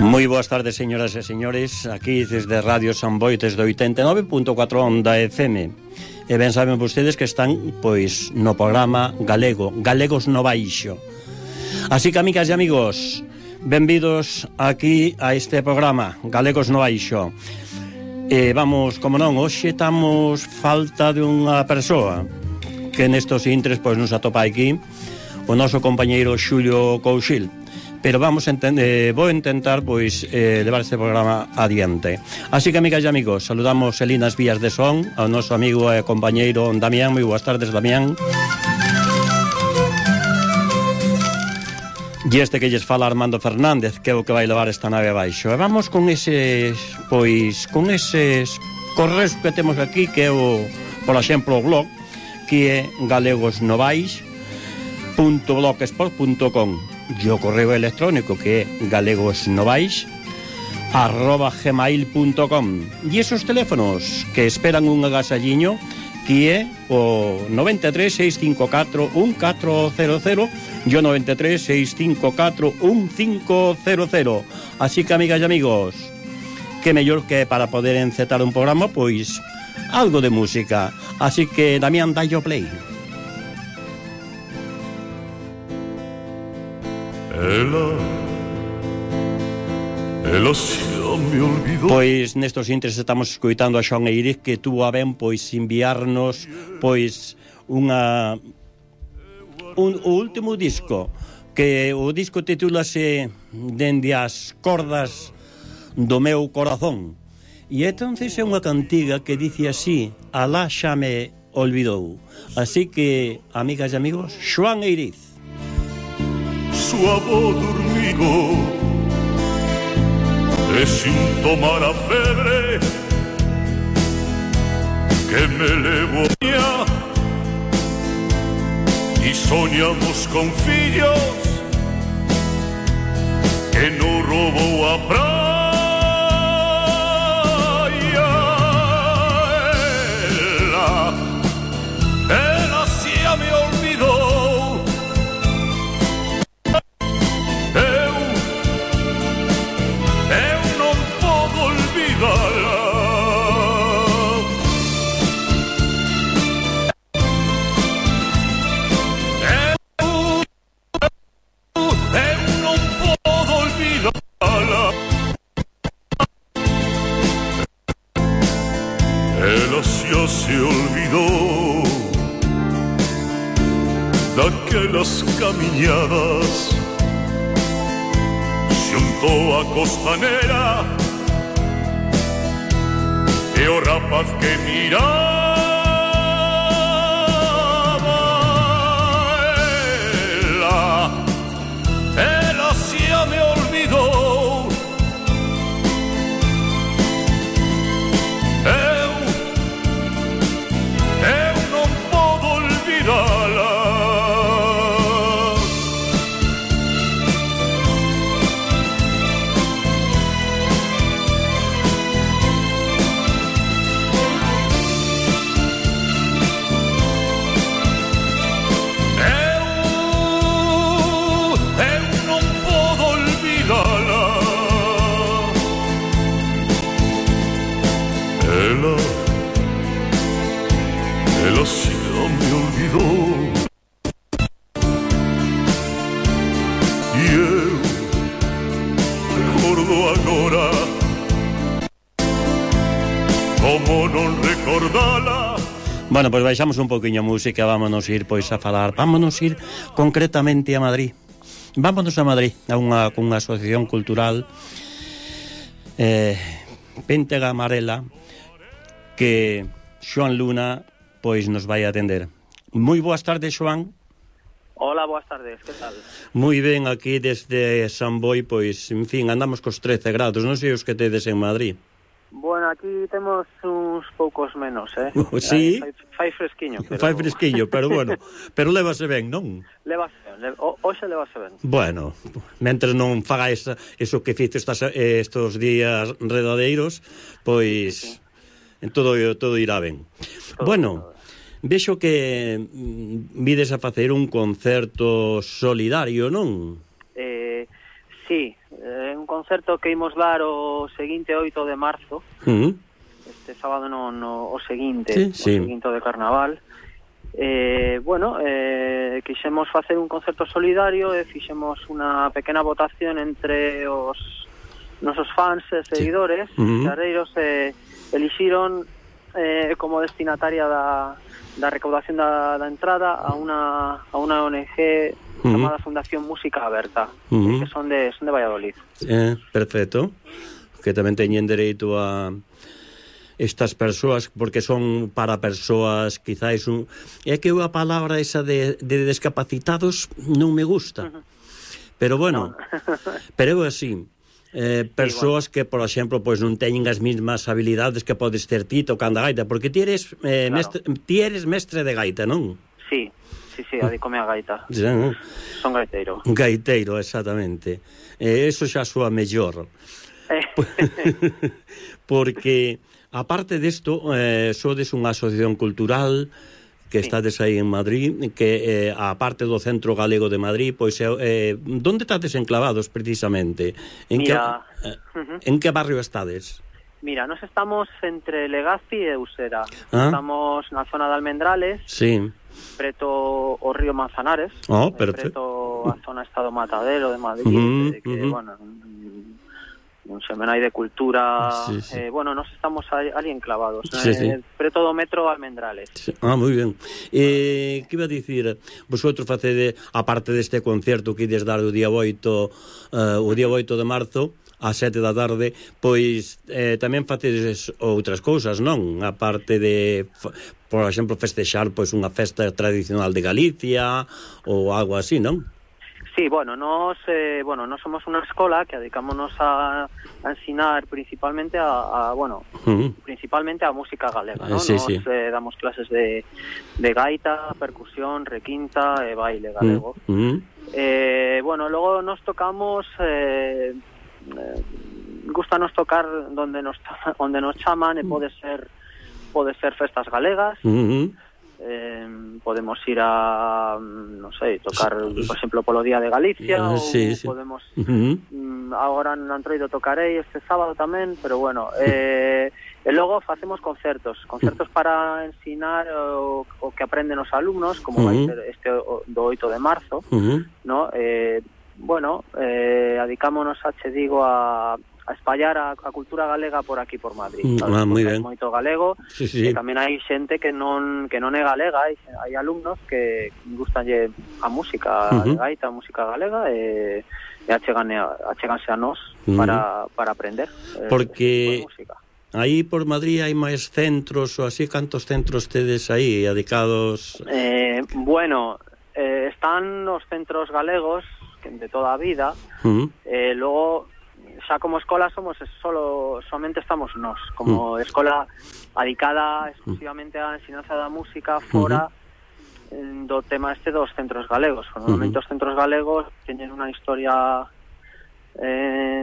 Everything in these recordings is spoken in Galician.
Moi boas tardes, señoras e señores. Aquí desde Radio San Boi, desde 89.4 Onda FM. E ben saben vostedes que están, pois, no programa galego, Galegos no Baixo. Así que, amigas e amigos, benvidos aquí a este programa, Galegos no Baixo. E vamos, como non, hoxe estamos falta de unha persoa que nestos intres, pois, nos atopa aquí o noso compañeiro Xulio Couchil. Pero vou intentar pois levar este programa adiante. Así que, amigas e amigos, saludamos en linas vías de son ao noso amigo e compañeiro Damián. Moi boas tardes, Damián. E este que lles fala Armando Fernández, que é o que vai levar esta nave abaixo. E vamos con eses correos que temos aquí, que é por exemplo, o blog, que é galegosnovais.blogspot.com, e o correo electrónico, que é galegosnovais@gmail.com, e esos teléfonos que esperan un agasalliño, que é o 93 654 1400 e o 93 654 1500. Así que, amigas e amigos, que mellor que para poder encetar un programa, pois algo de música. Así que, Damián, dai o play. Ela xa me olvidou. Pois nestos intres estamos escoitando a Xoan Eiriz, que tuvo a ben pois enviarnos pois o último disco, que o disco titúlase Dende as cordas do meu corazón. E entonces é unha cantiga que dice así: Alá xa me olvidou. Así que, amigas e amigos, Xoan Eiriz. Suavo dormido e sin tomar a febre que me levo y soñamos con fillos que no robó a praia. Ela xa me olvidou. Se olvidó daquelas camiñadas xunto a costanera e o rapaz que miraba. Ela xa me olvidou. Ela xa me olvidou. E eu recordo agora como non recordala. Bueno, pois baixamos un poquinho a música. Vámonos ir pois a falar. Vámonos ir concretamente a Madrid. Vámonos a Madrid, a unha asociación cultural, Péntega Amarela, que Xoan Luna pois nos vai atender. Moi boas tardes, Xoan. Hola, boas tardes, que tal? Moi ben, aquí desde San Boi, pois, en fin, andamos cos 13 grados, non sei os que tedes en Madrid. Bueno, aquí temos uns poucos menos, Sí? Fai fresquiño, pero... Fai fresquiño, pero bueno, pero levase ben, non? Levase ben, hoxe levase ben. Bueno, mentres non faga eso que fizo estos días redadeiros, pois... Sí. Todo irá ben. Bueno, vexo que vides a facer un concerto solidario, non? Sí, un concerto que imos dar o seguinte 8 de marzo, este sábado o seguinte, sí. o seguinte de Carnaval. Quixemos facer un concerto solidario e fixemos unha pequena votación entre os nosos fans e seguidores, xarreiros, elixiron como destinataria da recaudación da entrada a unha ONG chamada Fundación Música Aberta, que son de Valladolid. Perfecto. Que tamén teñen dereito a estas persoas, porque son para persoas quizáis é que a palabra esa de discapacitados non me gusta, pero bueno, pero é así. Persoas que, por exemplo, pois non teñen as mesmas habilidades que podes ter ti tocando a gaita, porque ti eres mestre de gaita, non? Sí, adicome a gaita. Son gaiteiro. Gaiteiro, exactamente. Eso xa soa mellor. Porque aparte desto, sodes unha asociación cultural que estades aí en Madrid, que aparte do Centro Galego de Madrid, pois onde estades enclavados precisamente? En que barrio estades? Mira, nos estamos entre Legazpi e Usera. Estamos na zona de Almendrales, preto o río Manzanares, preto a zona Estado Matadero de Madrid, que, bueno, un semenai de cultura. Nos estamos ali enclavados, preto do metro Almendrales. Moi ben. Que iba a dicir, vosotros facede, aparte deste concerto que ides dar o día 8 de marzo a 7 da tarde, pois tamén facedes outras cousas, non? A parte de, por exemplo, festexar pois unha festa tradicional de Galicia ou algo así, non? Sí, nos somos unha escola que dedicámonos a ensinar principalmente principalmente a música galega, ¿no? Damos clases de gaita, percusión, requinta e baile galego. Luego nos tocamos, gustanos tocar onde nos chaman, e pode ser festas galegas. Podemos ir a, tocar, por exemplo, polo Día de Galicia, ou podemos agora no Antroido tocarei este sábado tamén, pero bueno, e logo facemos concertos para ensinar o que aprenden os alumnos, como vai ser este do 8 de marzo, no? Adicámonos a espallar a cultura galega por aquí, por Madrid. Moi ben. Moito galego, e tamén hai xente que non é galega, hai alumnos que gustanlle a música de gaita, a música galega, e acheganse a nós para aprender. Porque aí por Madrid hai máis centros, ou así, cantos centros tedes aí dedicados? Están os centros galegos de toda a vida, logo xa como escola somente estamos nós, como escola dedicada exclusivamente á ensinanza da música fora do tema dos centros galegos. Normalmente os centros galegos teñen unha historia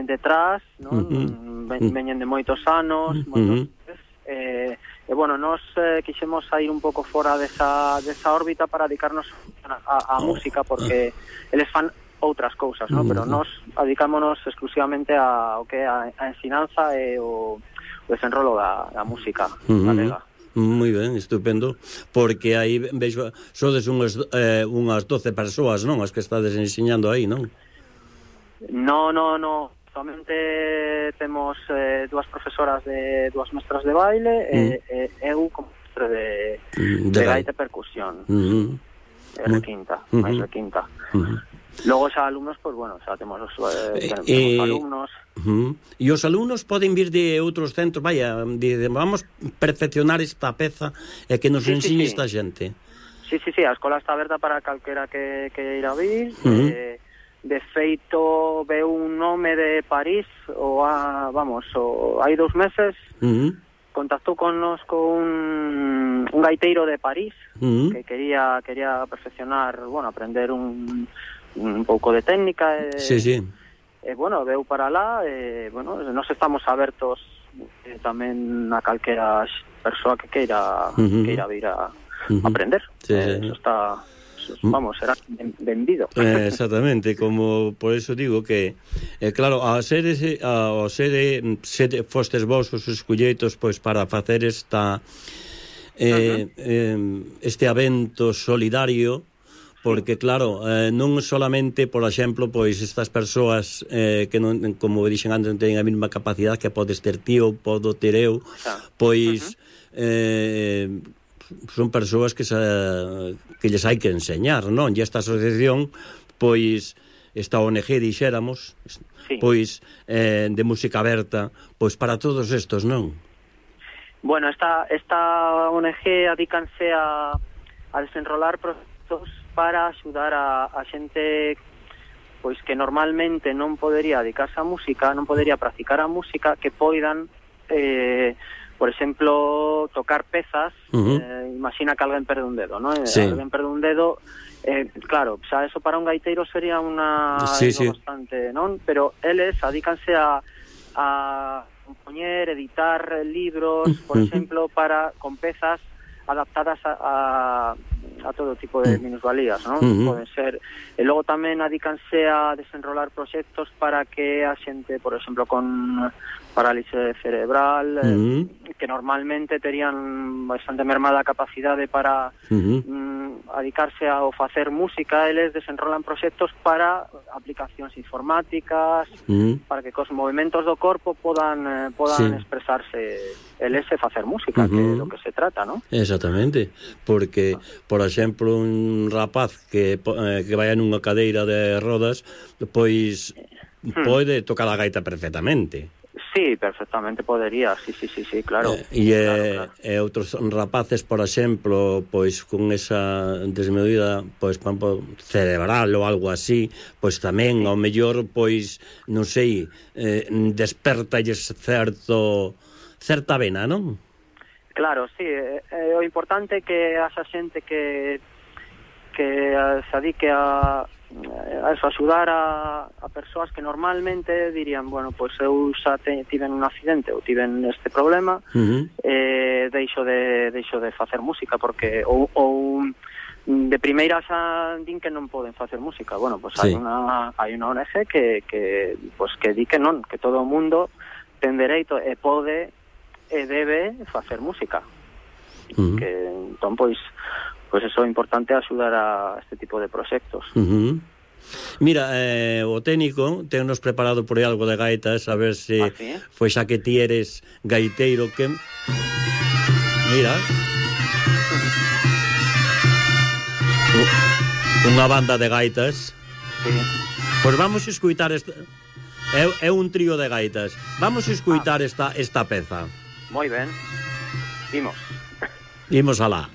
detrás, non? Veñen de moitos anos, nos quixemos sair un pouco fora desa órbita para dedicarnos a música, porque eles fan outras cousas, ¿no? Pero nós dedicámonos exclusivamente a ensinanza e o desenrolo da música galega. Moi ben, estupendo, porque aí vexo, sodes unhas 12 persoas, non? As que estades enseñando aí, non? No, solamente temos dúas profesoras dúas mestras de baile e eu como mestre de gaita e percusión. Requinta, máis requinta. Logo xa alumnos, xa temos os alumnos. E os alumnos poden vir de outros centros, vamos perfeccionar esta peza e que nos ensine esta xente. Sí, a escola está aberta para calquera que ir a vir. De feito, veu un nome de París, hai 2 meses, contactou con nos con un gaiteiro de París que quería perfeccionar, aprender un pouco de técnica, veu para lá, nos estamos abertos tamén a calquera persoa que queira vir a aprender. Eso vamos, será vendido. Exactamente, como por eso digo que claro, ao sede fostes vos os escolleitos pois para facer este evento solidario, porque claro, non solamente, por exemplo, pois estas persoas que non, como dixen antes, non teñen a mesma capacidade que podes ter ti ou podo ter eu, pois son persoas que lles hai que enseñar, non? E esta asociación, pois esta ONG, dixéramos, pois de música aberta, pois para todos estos, non? Bueno, esta ONG adícanse a desenrolar procesos para axudar a xente pois que normalmente non podería dedicarse á música, non podería practicar a música, que poidan por exemplo, tocar pezas. Imagina que alguén perde un dedo, non? Alguén perde un dedo, claro, xa eso para un gaiteiro sería bastante, non? Pero eles adícanse a compoñer, editar libros, por exemplo, con pezas adaptadas a todo tipo de minusvalías, non? Poden ser. E logo tamén adícanse a desenrolar proxectos para que a xente, por exemplo, con parálisis cerebral, que normalmente terían bastante mermada a capacidade para adicarse a facer música, eles desenrolan proxectos para aplicacións informáticas, para que cos movimentos do corpo podan expresarse eles e facer música, que é do que se trata, non? Exactamente, porque, por exemplo, un rapaz que vai nunha cadeira de rodas, pois pode tocar a gaita perfectamente. Sí, perfectamente podería, sí, claro. E outros rapaces, por exemplo, pois con esa desmedida, pois cerebral ou algo así, pois tamén ao mellor, pois non sei, despertalles certa vena, non? Claro, sí, o importante é que haxa xente que se adique a axudar a persoas que normalmente dirían, bueno, pois eu xa tiven un accidente ou tiven este problema, deixo de facer música, porque ou de primeira xa din que non poden facer música. Bueno, pois hai unha ONG que di que non, que todo o mundo ten dereito e pode e debe facer música. Que entón, pois eso é importante, axudar a este tipo de proxectos. Mira, o técnico tennos preparado por aí algo de gaitas, a ver se pois xa que ti eres gaiteiro, que mira unha banda de gaitas. Pois vamos a escutar é un trío de gaitas. Vamos a escutar esta peza. Moi ben. Imos alá.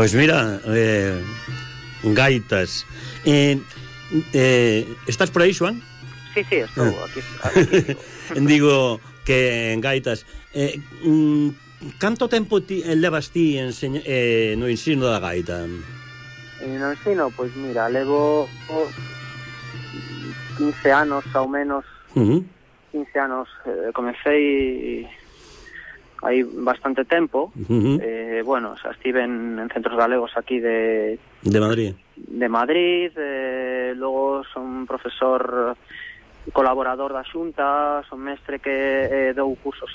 Pois mira, gaitas. Estás por aí, Xoán? Sí, estou aquí. Digo que en gaitas. Canto tempo levas ti no ensino da gaita? No ensino, pois mira, levo 15 anos ao menos. 15 anos, comecei hai bastante tempo. Bueno, xa estive en centros galegos aquí de Madrid. Logo son profesor colaborador da Xunta, son mestre que dou cursos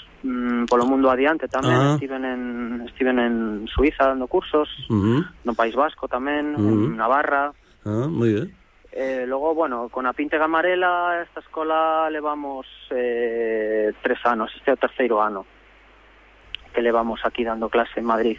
polo mundo adiante tamén. Estiven en Suiza dando cursos, no País Vasco tamén, en Navarra. Moi ben. Logo, bueno, con a Píntega Amarela esta escola levamos 3 anos, este é o 3º ano que levamos aquí dando clase en Madrid.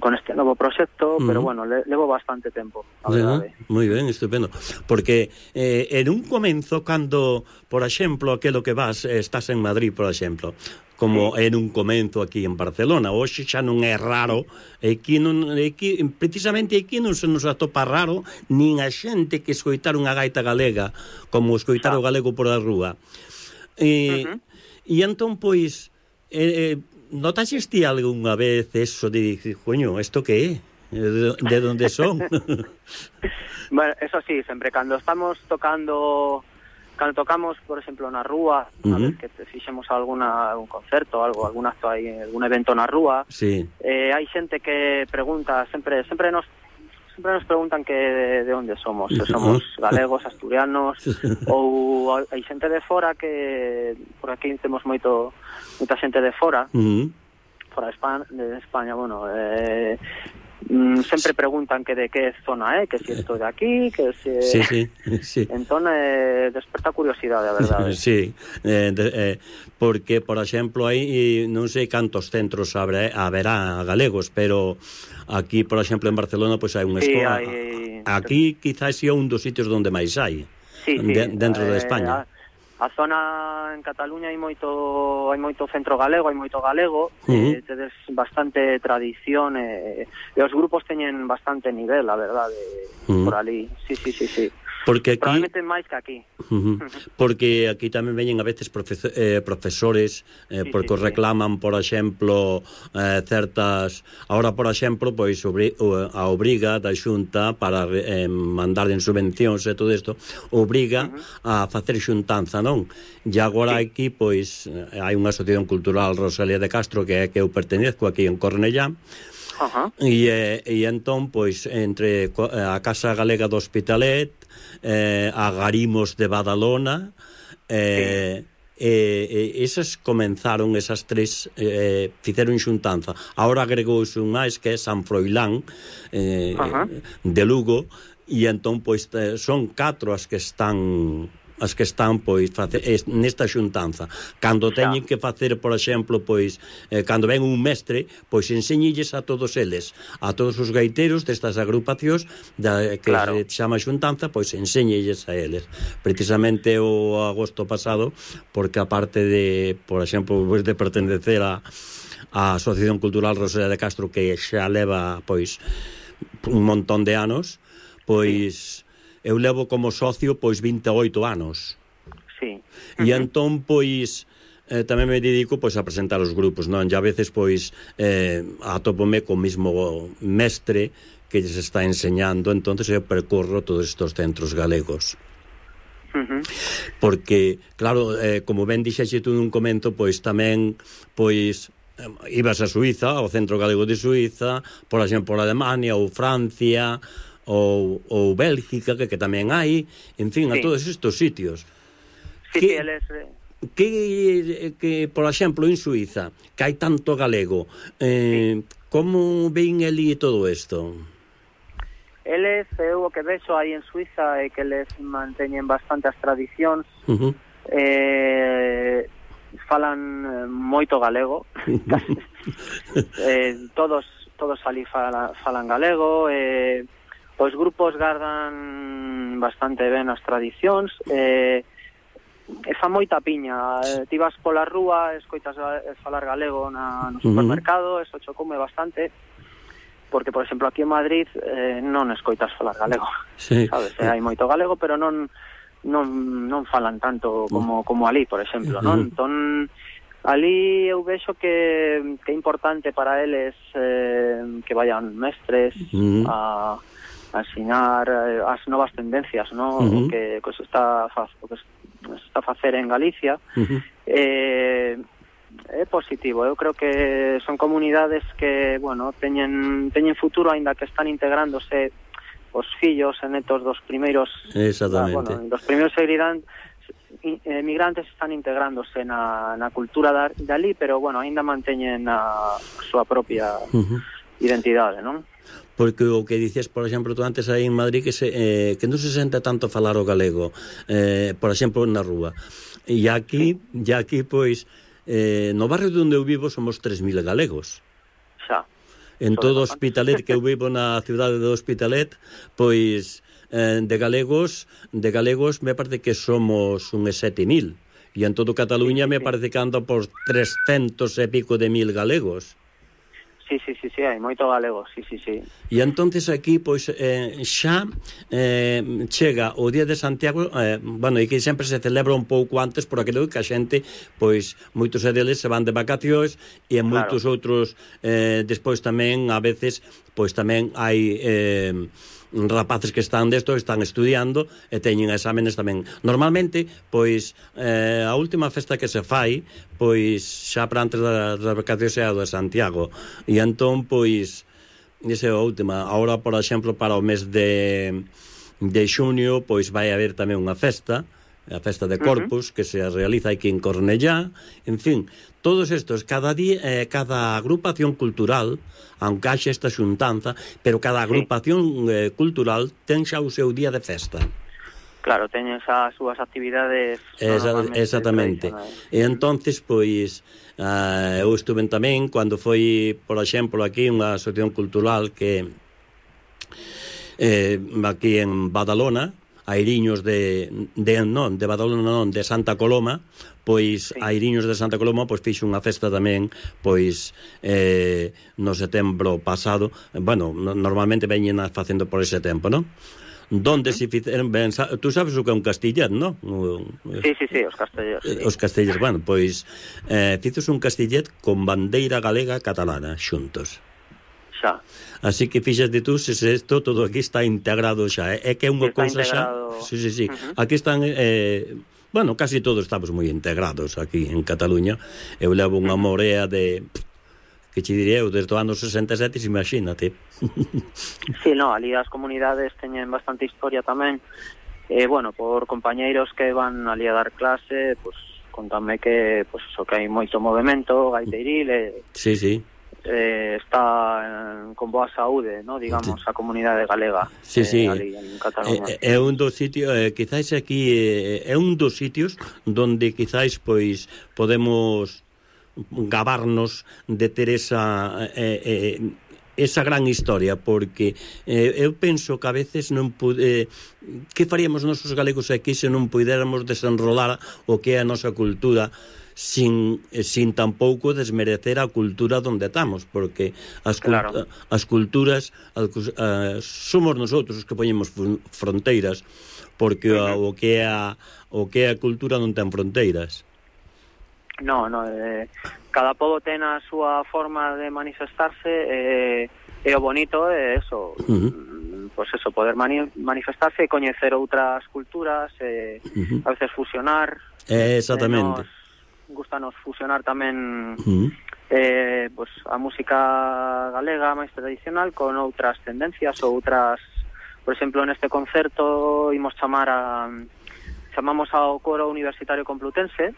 Con este novo proxecto, pero bueno, levo bastante tempo, a verdade. Moi ben, estupendo. Porque en un comenzo, cando, por exemplo, aquilo que estás en Madrid, por exemplo, como en un comenzo aquí en Barcelona, hoxe xa non é raro, precisamente aquí non se nos atopa raro nin a xente que escoitar unha gaita galega como escoitar o galego por a rúa. E entón, pois, notaxes ti algunha vez eso de dicir, coño, esto que é? De onde son? Bueno, eso sí, sempre cando estamos tocamos, por exemplo, na rúa, a vez que fixemos algún concerto, algún acto aí, algún evento na rúa, hai xente que pregunta, sempre nos preguntan que de onde somos, se somos galegos, asturianos, ou hai xente de fora que por aquí temos moita xente de fora, fora de España, bueno, sempre preguntan que de que zona é, que si estou de aquí, que si... Sí. Entón, desperta curiosidade, a verdade. Sí, porque, por exemplo, aí non sei cantos centros haberá galegos, pero aquí, por exemplo, en Barcelona, pois hai unha escola. Aquí, quizás, é un dos sitios onde máis hai, dentro de España. A zona en Cataluña hai moito centro galego, tedes bastante tradición, e os grupos teñen bastante nivel, a verdade, por ali. Sí. Porque aquí, probablemente máis que aquí. Porque aquí tamén veñen a veces profesores porque reclaman, por exemplo, certas... Ahora, por exemplo, pois a obriga da Xunta para mandar en subvencións e todo isto, obriga a facer xuntanza, non? E agora aquí, pois, hai unha asociación cultural, Rosalía de Castro, que é que eu pertenezco aquí en Cornellá, e entón, pois, entre a Casa Galega do Hospitalet, a Garimos de Badalona, esas comenzaron, esas tres fixeron xuntanza. Ahora agregouse un máis que é San Froilán de Lugo, e entón, pois, son 4 as que están pois nesta xuntanza. Cando teñen que facer, por exemplo, pois cando ven un mestre, pois enseñilles a todos eles, a todos os gaiteros destas agrupacións que se chama xuntanza, pois enseñilles a eles. Precisamente o agosto pasado, porque aparte de, por exemplo, pois de pertenecer a Asociación Cultural Rosalía de Castro, que xa leva pois un montón de anos, pois eu levo como socio pois 28 anos. Sí. E entón, pois, tamén me dedico pois a presentar os grupos, non? E a veces, pois, atópome co mismo mestre que lles está enseñando, entonces eu percorro todos estes centros galegos. Porque, claro, como ben dixexe tú nun comento, pois tamén, pois, ibas a Suiza, ao Centro Galego de Suiza, por exemplo, por Alemania ou Francia, ou Bélgica, que tamén hai, en fin, a todos estes sitios. Que, por exemplo, en Suiza, que hai tanto galego, como ven ali todo isto? Eles, eu o que vexo aí en Suiza é que eles manteñen bastante as tradicións, falan moito galego, todos ali falan galego, os grupos gardan bastante ben as tradicións, e fa moita piña. Ti vas pola rúa, escoitas falar galego no supermercado, eso chocoume bastante, porque, por exemplo, aquí en Madrid non escoitas falar galego, sabes? Hai moito galego, pero non falan tanto como ali, por exemplo, non? Entón, ali eu vexo que é importante para eles que vayan mestres a ensinar as novas tendencias, ¿no? O que se está a facer en Galicia. É positivo. Eu creo que son comunidades que, bueno, teñen futuro, aínda que están integrándose os fillos e netos dos primeiros, exactamente, dos primeiros emigrantes están integrándose na cultura dali, pero, bueno, aínda manteñen a súa propia identidade, non? Porque o que dices, por exemplo, tú antes aí en Madrid que non se sente tanto falar o galego, por exemplo, na rúa. E aquí, pois, no barrio onde eu vivo somos 3.000 galegos. Xa. En todo o Hospitalet, que eu vivo na cidade do Hospitalet, pois de galegos me parece que somos uns 7.000. E en todo Cataluña me parece que anda por 300 e pico de mil galegos. Sí, hai moito galego, sí. E entonces aquí, pois, xa chega o Día de Santiago, bueno, e que sempre se celebra un pouco antes por aquilo que a xente, pois, moitos deles se van de vacacións e moitos outros, despois tamén, a veces, pois tamén hai rapaces que están estudiando e teñen exámenes tamén. Normalmente, pois, a última festa que se fai, pois, xa para antes das vacacións é a de Santiago. E entón, pois, esa é a última. Ahora, por exemplo, para o mes de xuño, pois vai haber tamén unha festa, a festa de Corpus, que se realiza aquí en Cornellá. En fin, todos estos, cada agrupación cultural, aunque haxe esta xuntanza, pero cada agrupación cultural ten xa o seu día de festa. Claro, teñen as súas actividades. Exactamente. E entonces, pois, eu estuve tamén cando foi, por exemplo, aquí unha asociación cultural que aquí en Badalona, Airiños de Badalona non, de Santa Coloma, pois Airiños de Santa Coloma pois fixo unha festa tamén, pois no setembro pasado. Bueno, normalmente veñen facendo por ese tempo, non? Donde se fixeron ben, tú sabes o que é un castillet, non? Sí, os castellos. Os castellos, bueno, pois fixos un castillet con bandeira galega catalana xuntos. Xa. Así que fíxate tú, se isto todo aquí está integrado xa, é que é unha cousa xa. Sí. Aquí están bueno, casi todos estamos moi integrados aquí en Cataluña. Eu levo unha morea de que che diré eu desde o ano 67, imagínate. Sí, no, ali as comunidades teñen bastante historia tamén. Bueno, por compañeiros que van ali a dar clase, pues contame que pues eso, que hai moito movemento gaiteiril Sí. Está con boa saúde, ¿no? Digamos, a comunidade galega. Sí. Ali en Cataluña. É un dos sitios, quizás aquí é un dos sitios donde quizás pois podemos gabarnos de ter esa gran historia, porque eu penso que a veces non que faríamos nosos galegos aquí se non puidéramos desenrolar o que é a nosa cultura sin tampouco desmerecer a cultura donde estamos, porque as culturas somos nosotros os que poñemos fronteiras, porque o que é a cultura non ten fronteiras. No, cada pobo ten a súa forma de manifestarse, e o bonito é eso, pois eso, poder manifestarse e coñecer outras culturas, a veces fusionar. Exactamente. Gustanos fusionar tamén pois a música galega máis tradicional con outras tendencias ou outras, por exemplo, neste concerto chamamos ao coro universitario complutense,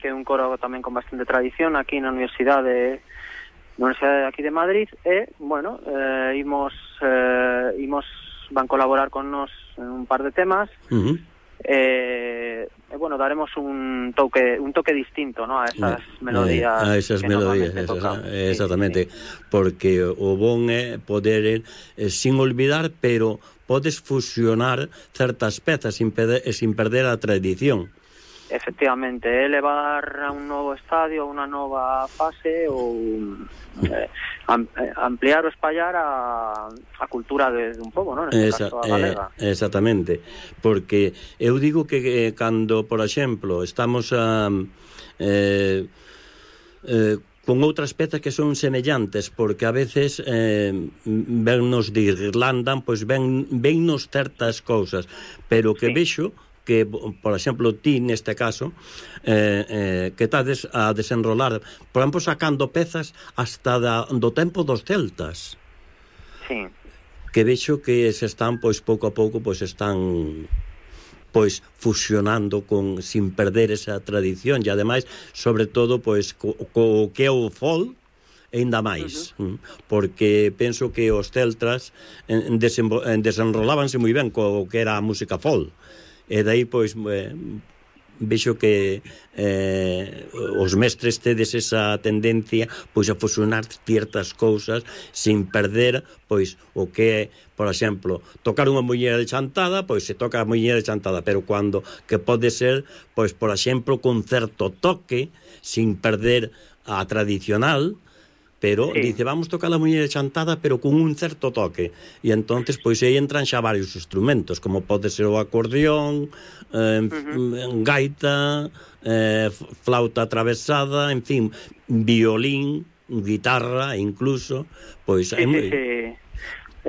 que é un coro tamén con bastante tradición aquí na universidade aquí de Madrid, e, bueno, van colaborar con nos en un par de temas, bueno, daremos un toque distinto, ¿no? A esas melodías. A esas melodías, exactamente. Porque o bon é poder, sin olvidar, pero podes fusionar certas pezas sin perder a tradición. Efectivamente, levar a un novo estadio, a unha nova fase, ou ampliar ou espallar a cultura de un pobo, non? Neste caso, a galega. Exactamente, porque eu digo que cando, por exemplo, estamos con outras pezas que son semellantes, porque a veces vennos de Irlanda, pois vennos certas cousas, pero que vexo que, por exemplo, ti neste caso que estades a desenrolar, por exemplo, sacando pezas hasta do tempo dos celtas. Sí. Que vexo que se están, pois, pouco a pouco, pois, están pois fusionando sin perder esa tradición, e ademais, sobre todo, pois co que é o folk, ainda máis, porque penso que os celtas desenrolábanse moi ben co que era a música folk, e dai, pois, vexo que os mestres tedes esa tendencia, pois, a fusionar ciertas cousas sin perder, pois, o que é, por exemplo, tocar unha muñeira de chantada, pois se toca a muñeira de chantada, pero cando que pode ser, pois, por exemplo, con certo toque, sin perder a tradicional, pero dice, vamos tocar a muñeira chantada, pero con un certo toque, e entonces pois aí entran xa varios instrumentos, como pode ser o acordeón, gaita, flauta atravesada, en fin, violín, guitarra, incluso, pois sí,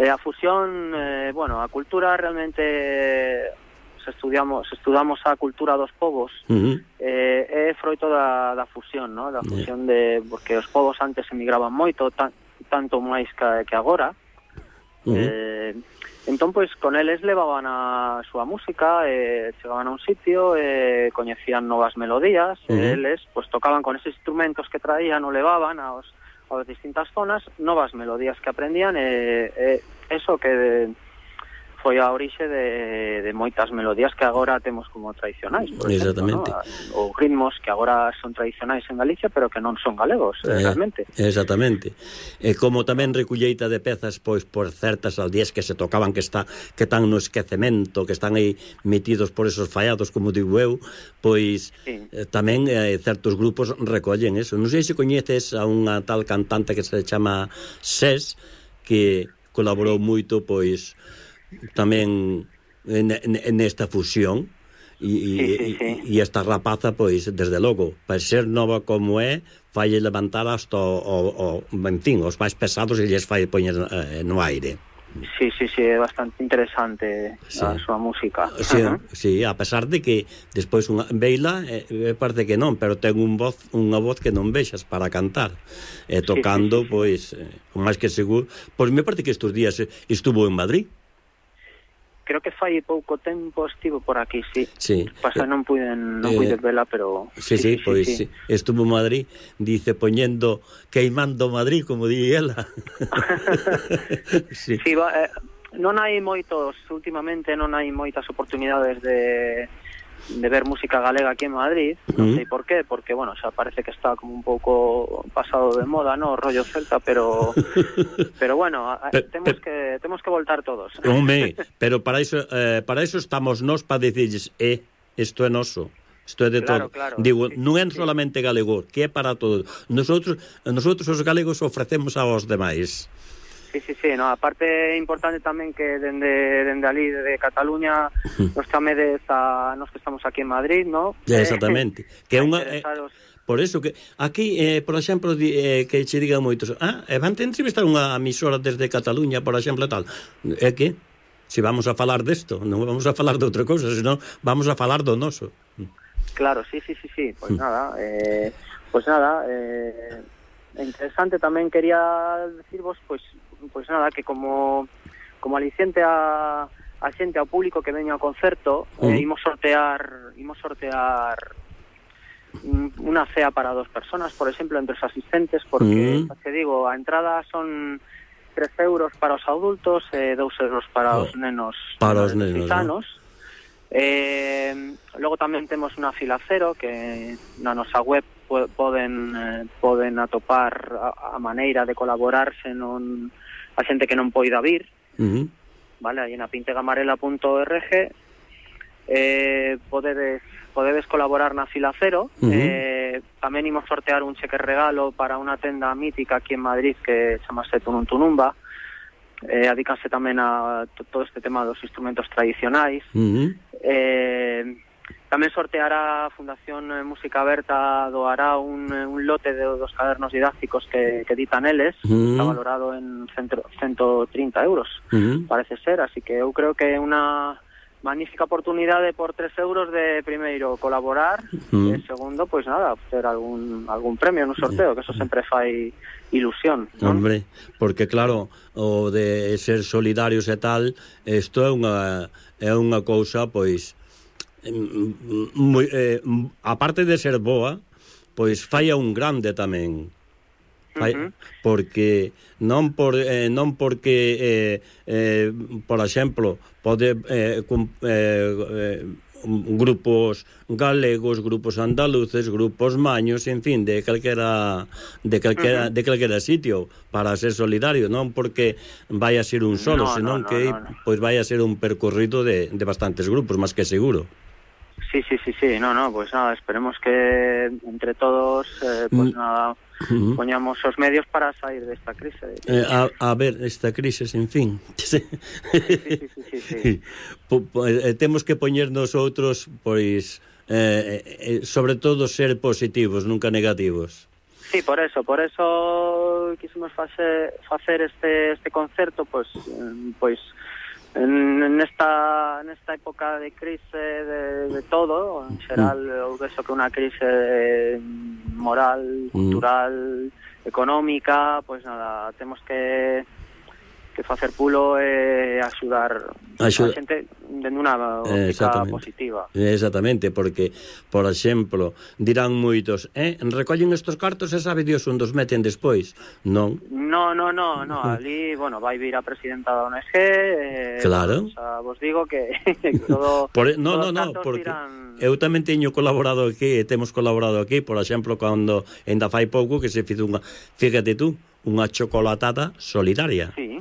a fusión, bueno, a cultura realmente estudamos a cultura dos povos, é froito da fusión, ¿no? Da fusión porque os povos antes emigraban moito, tanto máis que agora. Entón, pois, con eles levaban a súa música, chegaban a un sitio, coñecían novas melodías, eles, pois, tocaban con eses instrumentos que traían ou levaban aos distintas zonas, novas melodías que aprendían, eso que foi a orixe de moitas melodías que agora temos como tradicionais, por exactamente, exemplo, ¿no? Ou ritmos que agora son tradicionais en Galicia, pero que non son galegos, realmente. Exactamente. E como tamén recolleita de pezas, pois, por certas aldeas que se tocaban, que están no esquecemento, que están aí metidos por esos fallados, como digo eu, pois, tamén certos grupos recollen eso. Non sei se coñeces a unha tal cantante que se chama Ses, que colaborou moito, pois, tamén nesta fusión, e esta rapaza, pois, desde logo, para ser nova como é, fai levantar hasta en fin, os máis pesados, e lles fai poñer no aire. Sí, é bastante interesante a súa música. Sí, a pesar de que despois veila, parece que non, pero ten unha voz que non vexas para cantar, tocando, pois, o máis que seguro. Pois me parece que estes días estuvo en Madrid. Creo que fai pouco tempo estivo por aquí, Pasa, non puiden vela, pero pois estuvo en Madrid, dice, poñendo, queimando Madrid, como di ela. Non hai moitos, últimamente non hai moitas oportunidades de ver música galega aquí en Madrid, non sei por qué, porque, bueno, xa parece que está como un pouco pasado de moda, ¿no? Rollo celta, pero bueno, temos que voltar todos. Home, pero para eso estamos nós, para dicirles, isto é noso. Isto é de todo. Claro, digo, non é solamente galego, que é para todos. Nosotros os galegos ofrecemos aos demais. Sí, no, aparte é importante tamén que dende ali de Cataluña nos chamedes a nos que estamos aquí en Madrid, ¿no? Exactamente. Que é unha por eso que aquí, por exemplo, que che digan moitos, van a entrevistar unha emisora desde Cataluña, por exemplo, tal. É que se vamos a falar desto, non vamos a falar de outra cousa, senón vamos a falar do noso. Claro, sí. Pois nada, interesante tamén quería decirvos, pois nada, que como aliciente a xente, ao público que veña ao concerto, imos sortear unha cea para 2 personas, por exemplo, entre os asistentes, porque, te digo, a entrada son 3 euros para os adultos e 2 euros para os nenos. Para os nenos, sanos. Logo tamén temos unha fila cero, que na nosa web poden atopar a maneira de colaborarse a xente que non poida vir, vale, aí na pintegamarela.org podedes colaborar na fila cero. Tamén imos sortear un cheque regalo para unha tenda mítica aquí en Madrid que chamase Tunum Tunumba, adícanse tamén a todo este tema dos instrumentos tradicionais. Tamén sorteará a Fundación Música Aberta, doará un lote dos cadernos didácticos que editan eles, está valorado en 130 euros, parece ser, así que eu creo que é unha magnífica oportunidade por 3 euros de, primeiro, colaborar, e segundo, pois nada, ter algún premio no sorteo, que eso sempre fai ilusión, non? Hombre, porque claro, o de ser solidarios e tal, isto é unha cousa, pois, aparte de ser boa, pois fai a un grande tamén. Porque non porque por exemplo pode grupos galegos, grupos andaluces, grupos maños, en fin, de calquera sitio para ser solidario, non porque vai a ser un solo, senón que pois vai a ser un percorrido de bastantes grupos, máis que seguro. Sí, pues nada, esperemos que entre todos pues nada, poñamos os medios para sair desta crise. A ver, esta crise, en fin. Sí. Temos que poñer nosotros, pois, sobre todo ser positivos, nunca negativos. Sí, por eso quisimos facer este concerto, pues en esta época de crise de todo, en xeral, eu vexo que unha crise moral, cultural, económica, pues nada, temos que facer pulo e axudar a xente dende unha óptica positiva. Exactamente, porque, por exemplo, dirán moitos, recollen estos cartos e sabe Dios onde os meten despois. Non. No, ali, vai vir a presidenta da ONG, claro. Vos digo que todo porque eu tamén teño colaborado aquí, temos colaborado aquí, por exemplo, cando ainda fai pouco que se fizo fíjate tú, unha chocolatada solidaria. Sí.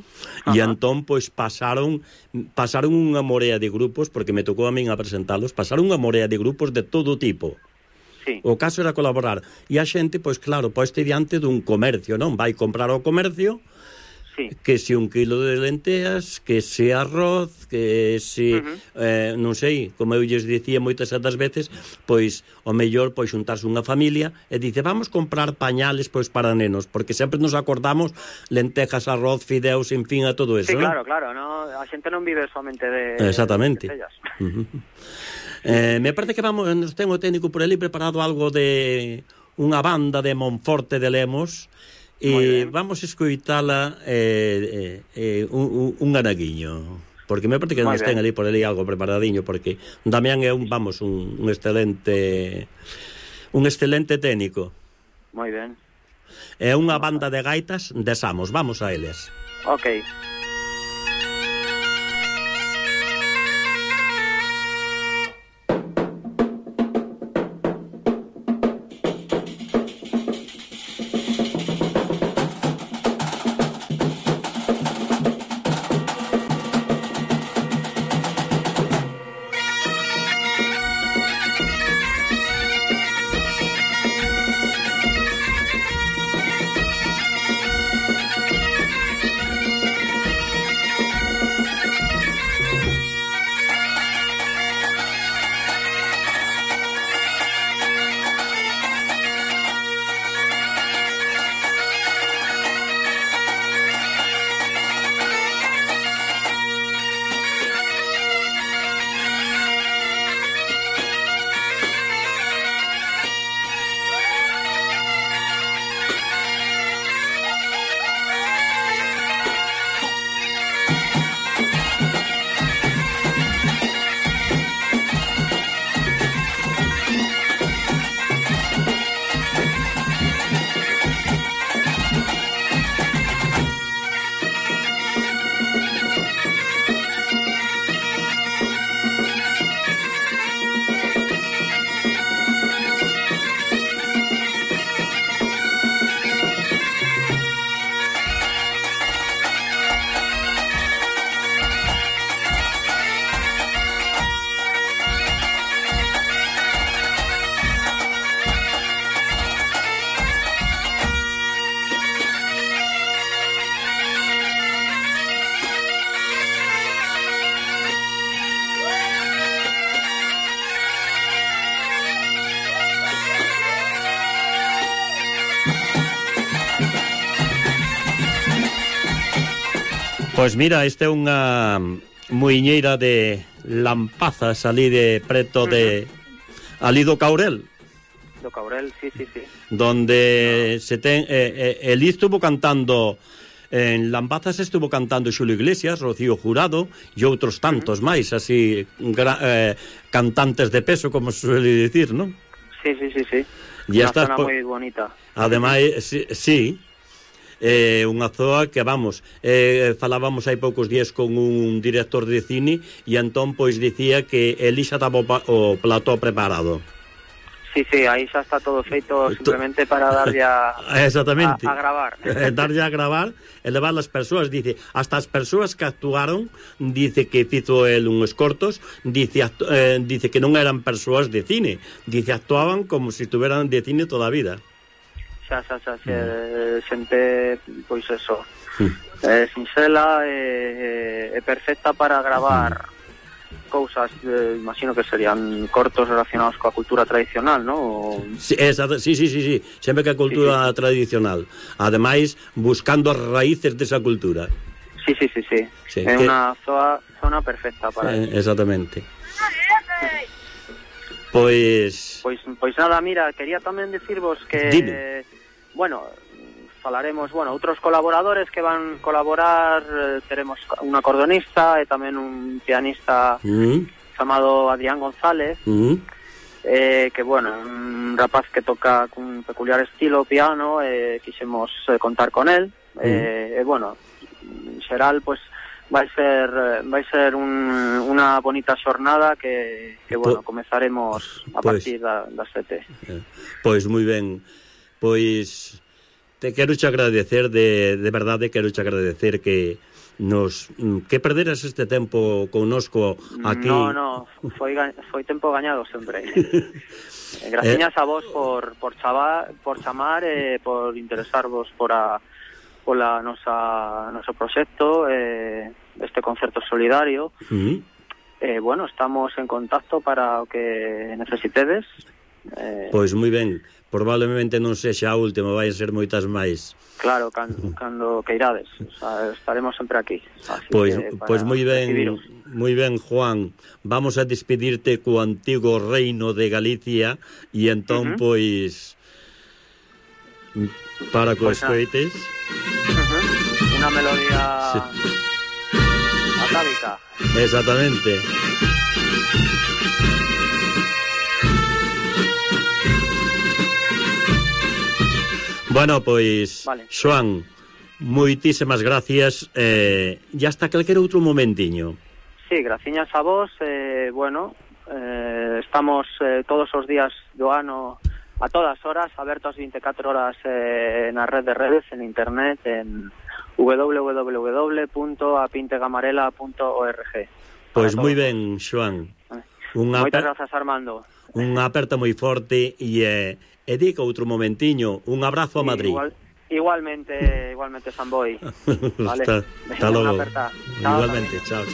E entón, pois, pasaron unha morea de grupos, porque me tocou a min a presentalos, pasaron unha morea de grupos de todo tipo. Sí. O caso era colaborar. E a xente, pois, claro, poiste diante dun comercio, non? Vai comprar ao comercio, sí. Que se 1 kilo de lenteas, que se arroz, que se, non sei, como eu lles dicía moitas das veces, pois, o mellor, pois, xuntarse unha familia e dice, vamos comprar pañales, pois, para nenos, porque sempre nos acordamos lentejas, arroz, fideos, en fin, a todo eso. Sí, claro, no? A xente non vive somente de... Exactamente. Me parece que nos ten o técnico por ali preparado algo de unha banda de Monforte de Lemos, e vamos a escoitala un anaguiño, porque me parece que nos ten ali por ali algo preparadiño, porque Damián é un excelente técnico. Moi ben. É unha banda de gaitas de Samos, vamos a eles. Ok. Pois mira, esta é unha muiñeira de Lampazas, ali de preto de ali do Caurel. Do Caurel, sí. Donde se ten el estuvo cantando En Lambazas estuvo cantando Xulio Iglesias, Rocío Jurado e outros tantos máis, así, cantantes de peso, como se suele dicir, non? Sí. Unha zona moi bonita. Ademais, sí, unha zoa que, vamos, falábamos hai poucos días con un director de cine e entón, pois, dicía que eli xa estaba o plató preparado. Sí, aí xa está todo feito simplemente para darlle a gravar. Darlle a gravar e levar as persoas, dice, hasta as persoas que actuaron, dice que fizo el uns cortos, dice que non eran persoas de cine, dice, actuaban como se estuveran de cine toda a vida. Xa, xente, pois eso, sinxela e perfecta para gravar cousas, imagino que serían cortos relacionados coa cultura tradicional, non? Sí, sempre que a cultura tradicional. Ademais, buscando as raíces desa cultura. Sí. É unha zona perfecta para eso. Exactamente. Pois nada, mira, quería tamén dicirvos que... Dime. Bueno, falaremos, outros colaboradores que van colaborar, teremos un acordeonista e tamén un pianista chamado Adrián González, que, un rapaz que toca cun peculiar estilo piano, quixemos contar con él, en xeral, pues, vai ser unha bonita xornada que comezaremos a partir das 7. Pois moi ben, pois te quero che agradecer de verdade, quero che agradecer que perderas este tempo connosco aquí. No, foi tempo gañado sempre. Graciñas a vos por chamar e por interesarvos pola noso proxecto, este concerto solidario. Estamos en contacto para o que necesitedes. Pois moi ben, probablemente non sexa a última, vai ser moitas máis. Claro, cando queirades, estaremos sempre aquí. Pois moi ben, Juan, vamos a despedirte co antigo reino de Galicia e entón, pois, para que escoites. Unha melodía atávica. Exactamente. Bueno, pois, vale. Xoan, moitísimas gracias, e hasta calquer outro momentiño. Sí, graciñas a vos, estamos todos os días do ano a todas horas, abertos 24 horas na red de redes, en internet, en www.apintegamarela.org. Pois moi ben, Xoan. Moitas grazas, Armando. Unha aperta moi forte e dica outro momentiño, un abrazo a Madrid. Igualmente, Samboy. Vale. Hasta logo. Igualmente, chao.